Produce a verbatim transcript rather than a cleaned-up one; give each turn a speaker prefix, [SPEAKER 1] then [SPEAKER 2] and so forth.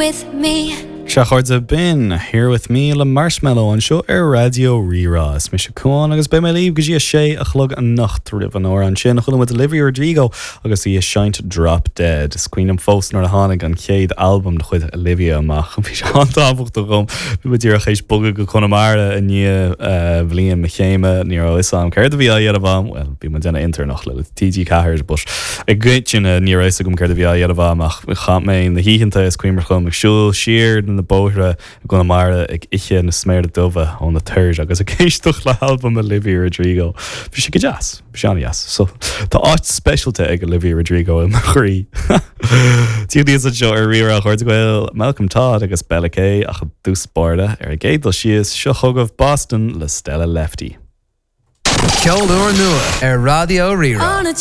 [SPEAKER 1] with me.
[SPEAKER 2] Sea, a chairde, b'in Here With Me le Marshmello anseo ar Raidió Rí-Rá. Is mise Cuán agus beidh mé libh go dtí a sé a chlog anocht. Roimh an amhrán sin chuala muid Olivia Rodrigo agus í ag seinnt Drop Dead. Is cuimhin liom fós nuair a tháinig an chéad albam de chuid Olivia amach. Bhí sé an-tábhachtach dom. Bhí mé díreach théis bogadh go Conamara i ndiaidh eh, bhliain mo chéime ní raibh a fhios agam céard a bhí á dhéanamh agam, well bhí mé ag déanamh intéirneacht le TG Ceathair but i gcoitinne ní raibh a fhios agam céard a bhí á dhéanamh agam ach chaith mé na hoícheanta is cuimhin liom ag siúl siar na bóithre i gConamara ag ithe na sméara dubha ó na toir agus ag éisteacht le halbam Olivia Rodrigo. Bhí sé go deas, bhí sé an-deas. So tá áit speisialta ag Olivia Rodrigo i mo chroí. Tííos seo ar Rí-Rá chuir bhfuil Malcolm Todd agus Bella K ach i dtús báire ar an gcéad dul síos seo chugaibh Boston le Stella Lefty.
[SPEAKER 3] Ceol úr nua ar Raidió Rí-Rá.
[SPEAKER 1] On a